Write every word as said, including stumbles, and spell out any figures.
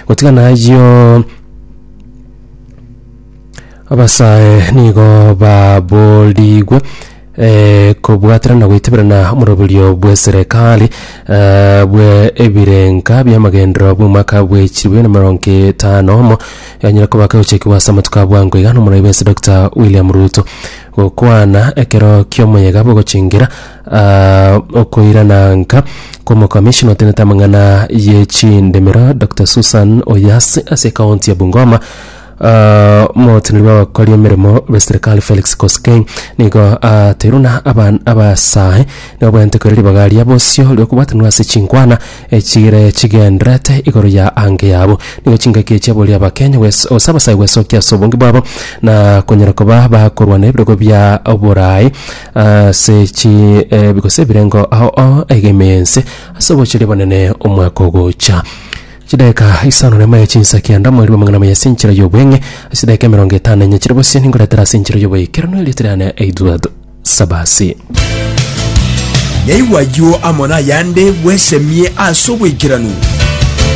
Gotigana ayio, abasae nigo baborigwe eh, kobwaterana na goiteberana omoroberio bw'eserekari eh, bwe ebirenka bi'amagenderero bw'omwaka bwe chilifu na emerongo etano omo yanyare koba kegochekigwa ase amatuko a bwango iga nomorai bw'ense Doctor William Ruto. Gokwana ekero ki'omoyega bw'ogochingera ah, okoirana nka kw'omokamishna otenete amang'ana ye chindemero Doctor Susan Oyasi ase ekaunti ya Bungoma. Uh, omoteneneri bw'abakori emeremo b'eserekari Felix Koskei nigo ateirwe na aban- abasae nigo babwenerete koira ribaga ria bosio riokobwatanwa ase chinkwana echire chigenderete igoro ya ange yabo. Nigo chingaki echi aboria abakenya gwes- gose abasae gwesokia ase obonge bwabo na konyara koba bakorwana ebirogo bia oborai ase chi eh, gose ebirengo ao ao aiga ime y'ense ase obochori bonene omwaka ogocha. Chidakika isano na emo chinsa kianda mweri bw'amang'ana amaya ase enchera y'obweng'e ase chidakika emerongo etano na enye chire bosio ningoretera ase enchera y'oboikeranu erieta riane Edward Sabasi. Naigwa ayio amo nayande bwesemie ase oboikeranu.